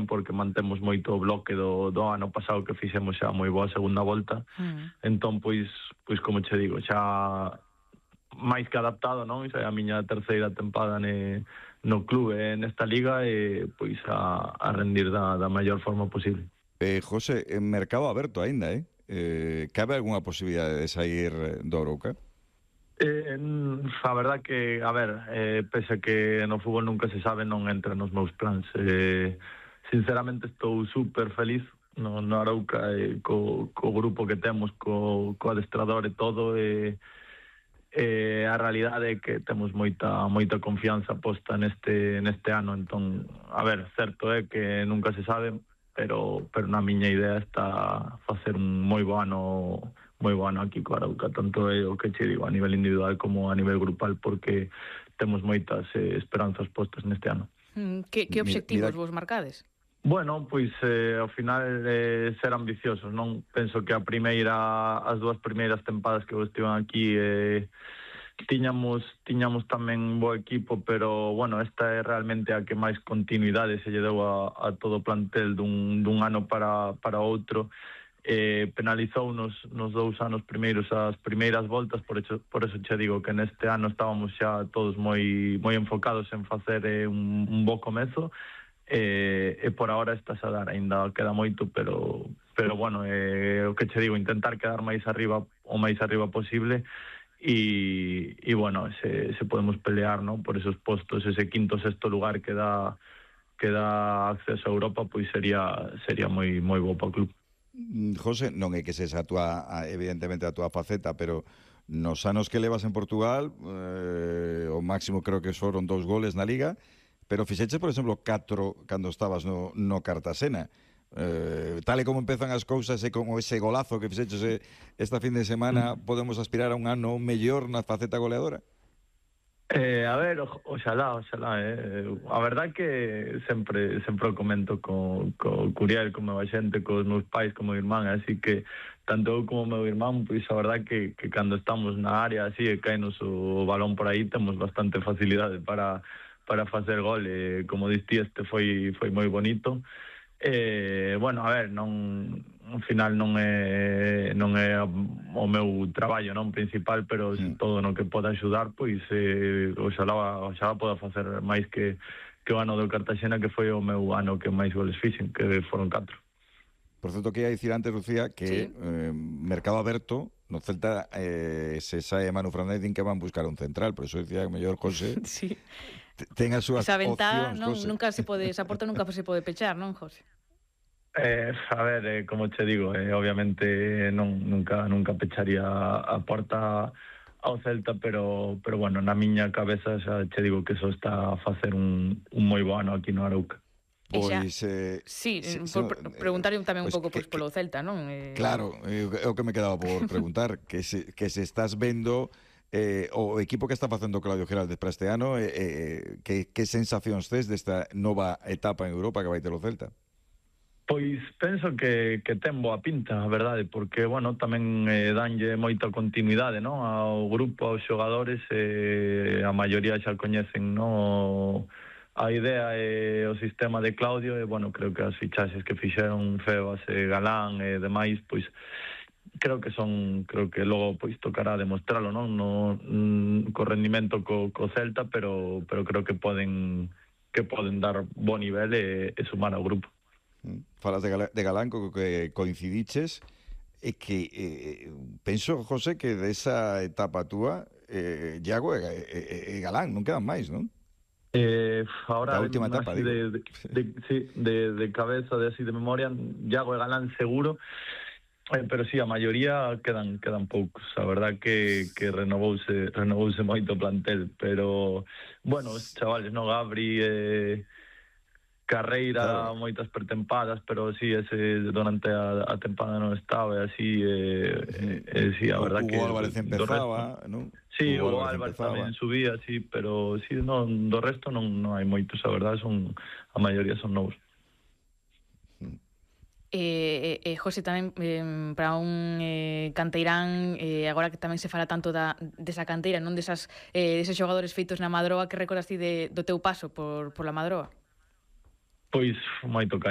porque mantemos moito o bloque do ano pasado que fixemos xa moi boa segunda volta. Entón, pois como che digo, xa máis que adaptado, non? Xa é a miña terceira tempada no clube nesta liga e pois a rendir da maior forma posible. José, en mercado aberto aínda, cabe algunha posibilidade de sair do Arouca? A verdad que, a ver, pese a que no fútbol nunca se sabe, non entra nos meus plans. Sinceramente estou super feliz no Arouca, co grupo que temos, co adestrador e todo, a realidade é que temos moita confianza posta neste ano. Entón, a ver, certo é que nunca se sabe, pero na miña idea está facer un moi bo ano aquí co Arauca, tanto é o que che digo a nivel individual como a nivel grupal, porque temos moitas esperanzas postas neste ano. Que obxectivos vos marcades? Bueno, pois ao final ser ambiciosos, non? Penso que as dúas primeiras tempadas que vos estiven aquí tiñamos tamén bo equipo, pero bueno, esta é realmente a que máis continuidade se lle deu a todo o plantel dun ano para outro. Penalizounos nos 2 anos primeiros as primeiras voltas, por eso che digo que neste ano estábamos xa todos moi enfocados en facer un bo comezo, e por ahora estás a dar, ainda queda moito, pero bueno, o que che digo, intentar quedar o máis arriba posible, e bueno, se podemos pelear, ¿no?, por esos postos, ese quinto, sexto lugar que dá acceso a Europa, pois sería moi bo para o club. José, non é que sexa evidentemente a túa faceta, pero nos anos que levas en Portugal, o máximo creo que foron 2 goles na Liga, pero fixeches, por exemplo, 4 cando estabas no Cartasena. Tal e como empezan as cousas e como ese golazo que fixeches esta fin de semana, podemos aspirar a un ano mellor na faceta goleadora? A ver, oxalá. A verdad que sempre o comento co Curiel, co meu xente, cos meus pais, co meu irmán, así que tanto eu como o meu irmán, pois a verdad que cando estamos na área así e caenos o balón por aí, temos bastante facilidade para facer gol. Como diste, este foi moi bonito. Bueno, a ver, ao final non é o meu traballo, non, principal, pero todo no que poda axudar, pois oxalá poda facer máis que o ano do Cartaxena, que foi o meu ano que máis goles fixen, que foron 4. Por certo, que ia dicir antes, Lucía, que mercado aberto no Celta, se sae Manu Fernández, din que van buscar un central, por eso dicía que mellor José ten as súas opcións. Nunca se pode, esa porta nunca se pode pechar, non, José? A ver, como che digo, obviamente nunca pecharía a porta ao Celta, pero bueno, na miña cabeza xa che digo que eso está a facer un moi bo ano aquí no Arouca. Pois preguntarlle tamén un pouco polo Celta, non? Claro, é o que me quedaba por preguntar, que se estás vendo o equipo que está facendo Claudio Giraldez para este ano, que sensacións tes desta nova etapa en Europa que vai ter o Celta? Pois penso que ten boa pinta, a verdade, porque, bueno, tamén danlle moita continuidade, non, ao grupo, aos xogadores, a maioría xa coñecen, non, a idea e o sistema de Claudio, e, bueno, creo que as fichaxes que fixeron Febas e Galán e demais, pois, creo que logo pois tocará demostralo, non, co rendimento co Celta, pero creo que poden dar bo nivel e sumar ao grupo. Falas de Galán, co que coincidiches, e que penso, José, que desa etapa túa, Iago e Galán non quedan máis, non? Ahora, da última etapa, digo. de cabeza, de memoria, Iago e Galán seguro, pero sí, a maioría quedan poucos. A verdad que renovouse moito o plantel, pero bueno, os chavales, no, Gabri, Carreira, claro, moitas pretempadas, pero sí, ese durante a tempada non estaba, e así, sí, a verdad que... Hugo Álvarez empezaba, non? Sí, Hugo Álvarez tamén subía, sí, pero sí, non, do resto non hai moitos, a verdad, a maioría son novos. José, tamén para un canteirán, agora que tamén se fala tanto desa canteira, non deses xogadores feitos na Madroa, que recordas ti do teu paso por la Madroa? Pois moito cariño.